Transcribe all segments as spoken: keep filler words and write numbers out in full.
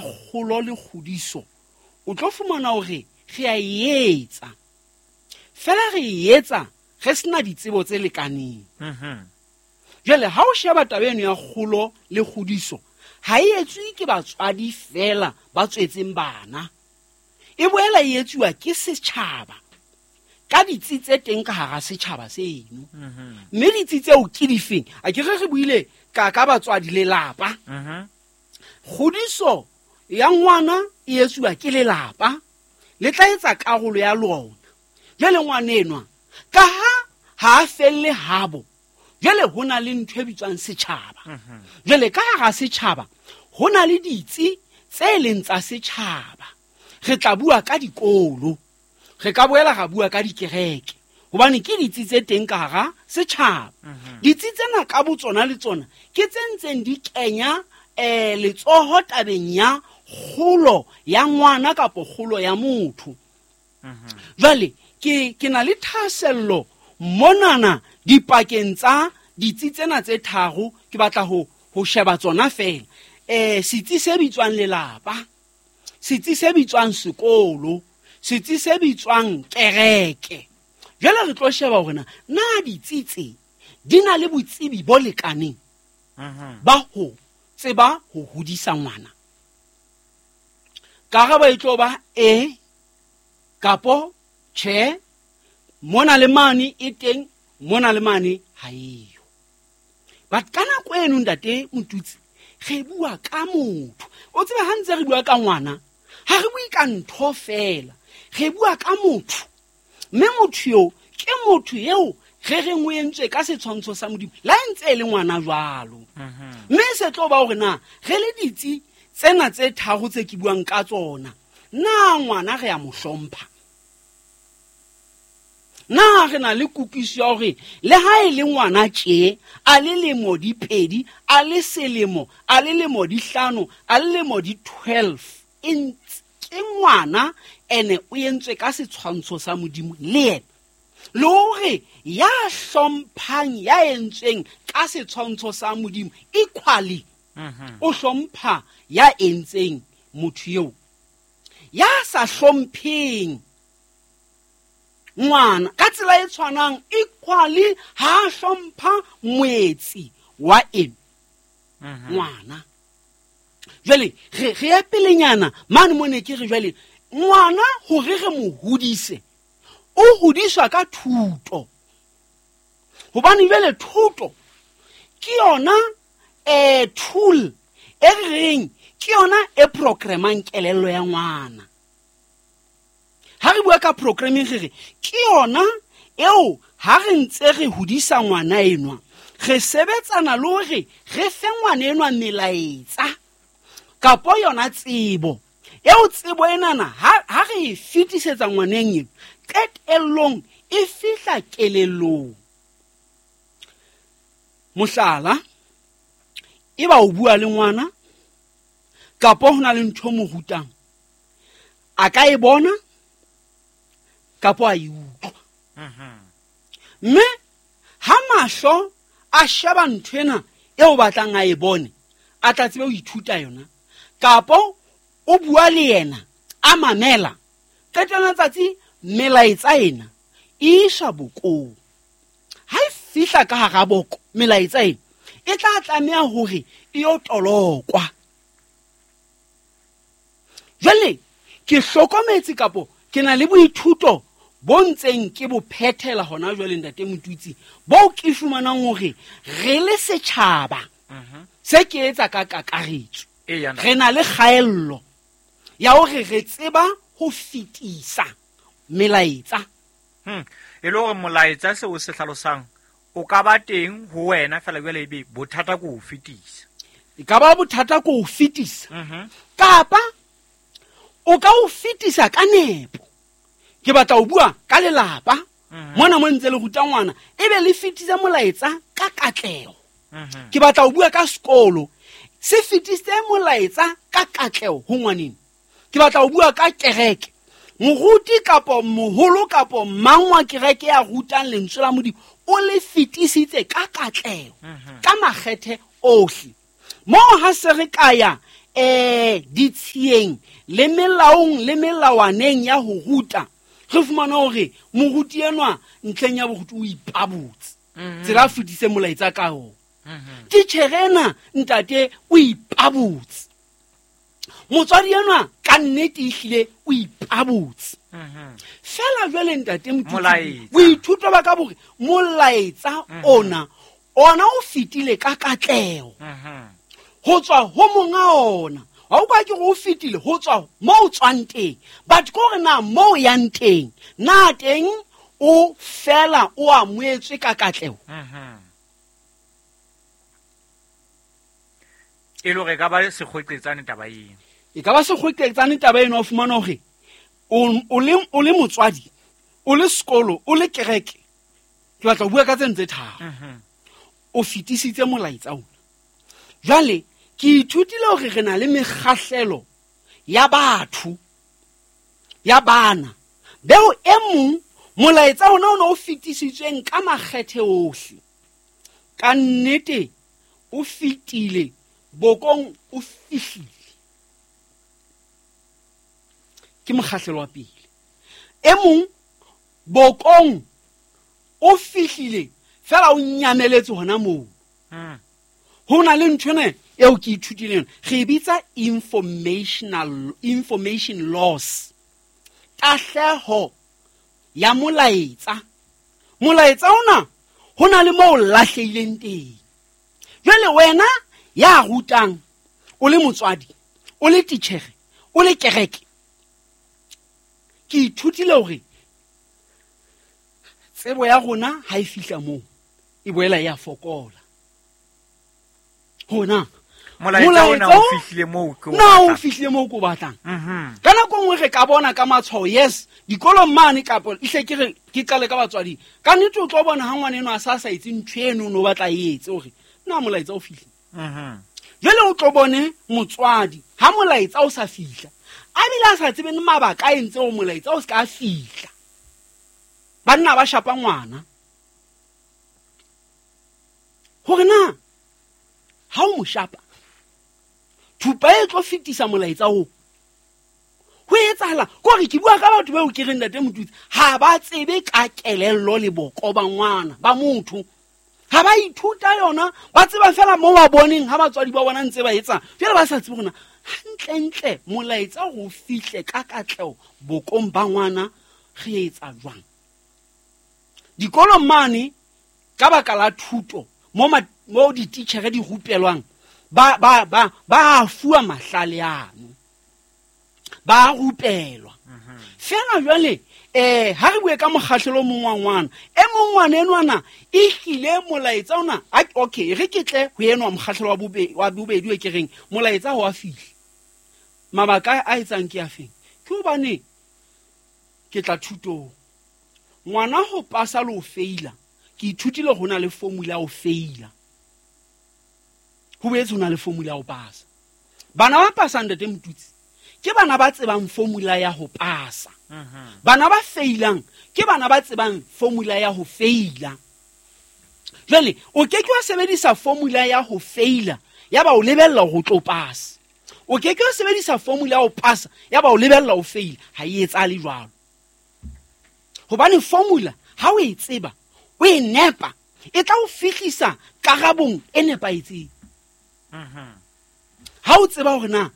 Kgolo le kgodiso o tlo fumana hore re a e etsa, fela re e etsa re sena ditsebo tse lekaneng. Mhm. Jwale ha o sheba taba eno ya kgolo le kgodiso, ha e etswe ke batswadi fela ba tswetseng bana, e boela e etsuwa ke setjhaba ka ditsi tse teng ka hara setjhaba seno. Mhm. Mme ditsi tseo ke difeng? A ke re re buile ka ka batswadi, lelapa. Mhm. Kgodiso ya ngwana e etsuwa ke lelapa, le tla etsa karolo ya lona. Jwale ngwana enwa ka ha ha a felle habo, jwale ho na le ntho e bitswang setjhaba. Mhm. Jwale ka hara setjhaba ho na le ditsi tse leng tsa setjhaba. Re tla bua ka dikolo, re ka boela ra bua ka dikereke, hobane ke ditsi tse teng ka hara setjhaba. Mhm. Ditsi tsena ka botsona le tsona ke tse ntseng di kenya, eh, letsoho tabeng ya kgolo ya ngwana kapo kgolo ya motho. Mhm. Jwale ke, ke na le thahasello monana dipakeng tsa ditsi tsena tse tharo, ke batla ho, ho sheba tsona fela. Eh, setsi se bitswang lelapa, setsi se bitswang sekolo, setsi se bitswang kereke. Jwale re tlo sheba hore na, na ditsi tse di na le botsebi bo lekaneng Mhm. ba ho tseba ho hodisa ngwana. Karabo e tlo ba e kapo tjhe, mona le mane e teng, mona le mane ha eyo. But ka nako eno ntate Motutsi, re bua ka motho. O tsebe ha ntse re bua ka ngwana, ha re bue ka ntho fela, re bua ka motho. Mme motho eo ke motho eo re reng o entswe ka setshwantsho sa Modimo, le ha e ntse e le ngwana jwalo. Mhm. Mme se tlo ba hore na re le ditsi tsena tse tharo tse ke buang ka tsona, na ngwana re a mo hlompha? Na re na le kutlwisiso ya hore le ha e le ngwana tje, a le lemo di pedi, a le selemo, a le lemo di hlano, a le lemo di twelve, e ntse ke ngwana ene o entswe ka setshwantsho sa Modimo le yena. Le hore ya hlomphang ya entsweng ka setshwantsho sa Modimo equally Mhm. o hlompha ya entseng motho eo. Ya sa hlompheng ngwana ka tsela e tshwanang equally ha hlompha moetsi wa eng Mhm. ngwana. Jwale re, re ya pelenyana mane mo ne ke re jwale ngwana hore re mo hodise, o hodiswa ka thuto. Hobane jwale thuto ke yona, eh, tool e re reng ke yona e programmang kelello ya ngwana. Ha re bua ka programming re re ke yona eo ha re ntse re hodisa ngwana enwa, re sebetsana le hore re fe ngwana enwa melaetsa kapo yona tsebo. Eo tsebo enana ha, ha re e fetisetsa ngwaneng eno, qetellong e fihla kelellong. Mohlala, e ba o bua le ngwana kapo ho na le ntho mo rutang, a ka e bona kapo a e utlwa. Mhm. Mme ha mahlo a sheba ntho ena eo batlang a e bone, a tla tsebe ho ithuta yona, kapo o bua le yena a mamela, qetellong tsatsi melaetsa ena e iswa bokong. Ha e fihla ka hara boko melaetsa ena e tla tlameha hore e yo tolokwa. Jwale ke hlokometse kapo ke na le boithuto bo ntseng ke bo phethela hona jwale ntate Motutsi, bo ke fumanang hore re le setjhaba Mhm. se ke etsa ka kakaretso, Eya, ntate. re na le kgaello ya hore re tseba ho fetisa melaetsa. Hmm. E le hore molaetsa seo se hlalosang o ka ba teng ho wena fela jwale ebe bothata ke ho fetisa. E ka ba bothata ke ho fetisa. Mhm. Kapa o ka o fetisa ka nepo. Ke batla ho bua ka lelapa. Mhm. Mona mo ntse le ruta ngwana, ebe le fetisa molaetsa ka katleho. Mhm. Ke batla ho bua ka sekolo, se fetise molaetsa ka katleho ho ngwaneng. Ke batla ho bua ka kereke, moruti kapo moholo kapo mang wa kereke ya rutang lentswe la Modimo o le fetisitse ka katleho, Mhm. ka makgethe ohle. Moo ha se re ka ya eh ditshiyeng le melaong le melawaneng ya ho ruta, re fumana hore moruti enwa ntlheng ya boruti o ipabotse. Tsela a fetise molaetsa ka ona. Titjhere ena ntate o ipabotse. Motswadi enwa ka nnete ehlile o ipabotse. Fela jwale ntate Motutsi, boithuto ba ka bore molaetsa ona ona o fetile ka katleho. Ho tswa ho monga ona. Ha o ka ke go fetile ho tswa mo o tswang teng. But ko re na mo yang teng, na teng o fela o amoetswe ka katleho. E le hore e ka ba sekgweqetsane taba eno. E ka ba sekgweqetsane taba eno, o fumana hore o le o le motswadi, o le sekolo, o le kereke. Ke batla ho bua ka tse ntse tharo. O fetisitse molaetsa ona. Jwale ke ithutile hore re na le mekgahlelo ya batho, ya bana. Beo e mong molaetsa ona o ne o fetisitsweng ka makgethe ohle. Ka nnete o fetile, bokong o fihlile. Ke mokgahlelo wa pele. E mong bokong o fihlile fela o nyameletse hona moo. Ho na le ntho ena eo ke ithutileng, re bitsa informational information loss. Tahleho ya molaetsa. Molaetsa ona ho na le moo o lahlehileng teng. Jwale wena ya rutang, o le motswadi, o le titjhere, o le kereke, ke ithutile hore tsebo ya rona ha e fihla moo e boela ya fokola. Hona molaetsa ona o fihlile moo ke o na o fihlile moo ko batlang. Ka nako nngwe re ka bona ka matshwao, yes, dikolong mane kapa ihle ke re ke qale ka batswadi. Ka nnete o tlo bona ha ngwana eno a sa sa etse ntho eno no batla e etse hore na molaetsa o fihlile. Jwale o tlo bone motswadi ha molaetsa o sa fihla, a bile a sa tsebe mabaka a entse o molaetsa o ska fihla. Banna ba shapa ngwana hore na ha o mo shapa thupa e tlo fetisa molaetsa oo. Ho etsahala kore ke bua ka batho bao ke reng ntate Motutsi ha ba tsebe ka kelello le boko ba ngwana ba motho. Ha ba ithuta yona, ba tseba fela mo ba boneng ha batswadi ba bona ntse ba etsa. Jwale ba sa tsebe hore na hantlentle molaetsa ho fihle ka katleho bokong ba ngwana re etsa jwang. Dikolong mane ka baka la thuto mo mo dititjhere di rupelwang ba ba ba ba fuwa mahlale ano, ba rupelwa. Fela jwale eh ha re bue ka mokgahlelo mong wa ngwana, e mong ngwana enwana e hlile molaetsa ona. Okay, re ke tle ho enwa mokgahlelo wa bobedi wa bobedi e ke reng molaetsa ho a fihla. Mabaka a etsang ke afeng? Ke hobane ke tla thutong. Ngwana ho pasa le ho feila, ke ithutile ho na le formula ho feila. Ho boetse ho na le formula ho pasa. Bana ba pasang ntate Motutsi ke bana ba tsebang formula ya ho pasa. Bana ba feilang ke bana ba tsebang formula ya ho feila. Jwale o ke ke wa sebedisa formula ya ho feila ya ba o lebella ho tlo pasa. O ke ke wa sebedisa formula ya ho pasa ya ba o lebella ho feila. Ha e etsahale jwalo. Hobane formula ha o e tseba, o e nepa, e tla o fihlisa karabong e nepahetseng. Ha o tseba hore na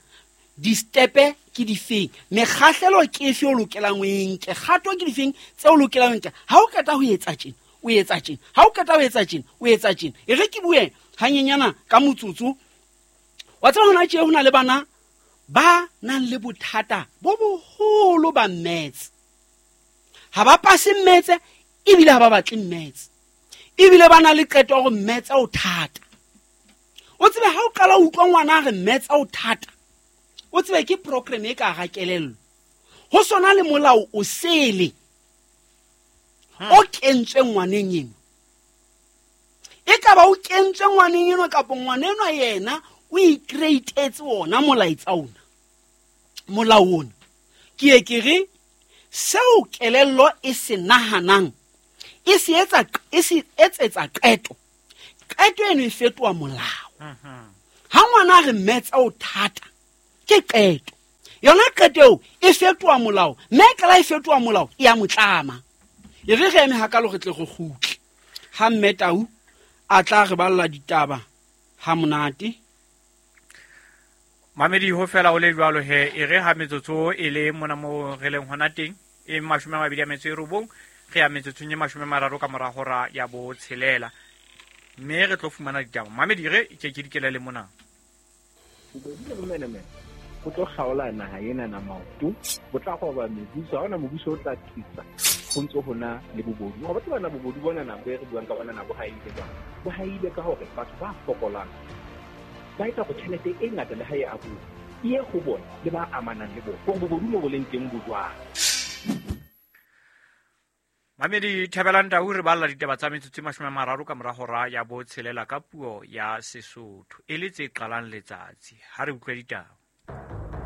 di-stepe ke difeng, mekgahlelo ke efe o lokelang o e nke, kgato ke difeng tse o lokelang o nke. Ha o qeta ho etsa tjena, o etsa tjena. Ha o qeta ho etsa tjena, o etsa tjena. E re ke bue hanyenyana ka motsotso. Wa tseba hona tje ho na le bana ba nang le bothata bo boholo ba maths. Ha ba pase maths ebile ha ba batle maths. Ebile ba na le qeto ya hore maths o thata. O tsebe ha o qala o utlwa ngwana a re maths o thata, o tsebe ke program e ka hara kelello. Ho sona le molao o sele o kentswe ngwaneng eno. E ka ba o kentswe ngwaneng eno kapa ngwana enwa yena o i-create-etse ona molaetsa ona, molao ona. Ke ye ke re seo kelello e se nahanang e se etsa, e se etsetsa qeto, qeto eno e fetoha molao. Ha ngwana a re maths o thata, Ke qeto. Yona qeto eo e fetoha molao, mme e qala e fetoha molao e a motlama. E re re eme hakalo re tle re kgutle. Ha Mme Tau a tla re balla ditaba ha monate. Mamedi ho fela o le jwalo he, e re ha metsotso e le mona mo re leng hona teng e mashome a mabedi a metso e robong, re ya metsotsong e mashome a mararo ka mora hora ya botshelela, mme re tlo fumana ditaba. Mamedi re ke ke dikele le mona. Bobodu le bomenemene bo tlo kgaola naha ena na maoto, bo tla roba mebuso, ha hona mobuso o tla thusa ho ntso hona le bobodu. Ho batho bana bobodu bona na bo re buang ka bona na bo haile jwang? Bo haile ka hore batho ba fokolang ba etsa hore tjhelete e ngata le ha e abuwa e ye ho bona le ba amanang le bona, hore bobodu mo bo leng teng bo jwang. Mamedi Thabelang Tau re balla ditaba tsa metsotso e mashome a mararo ka mora hora ya botshelela ka puo ya Sesotho e le tse qalang letsatsi. Ha re utlwe ditaba.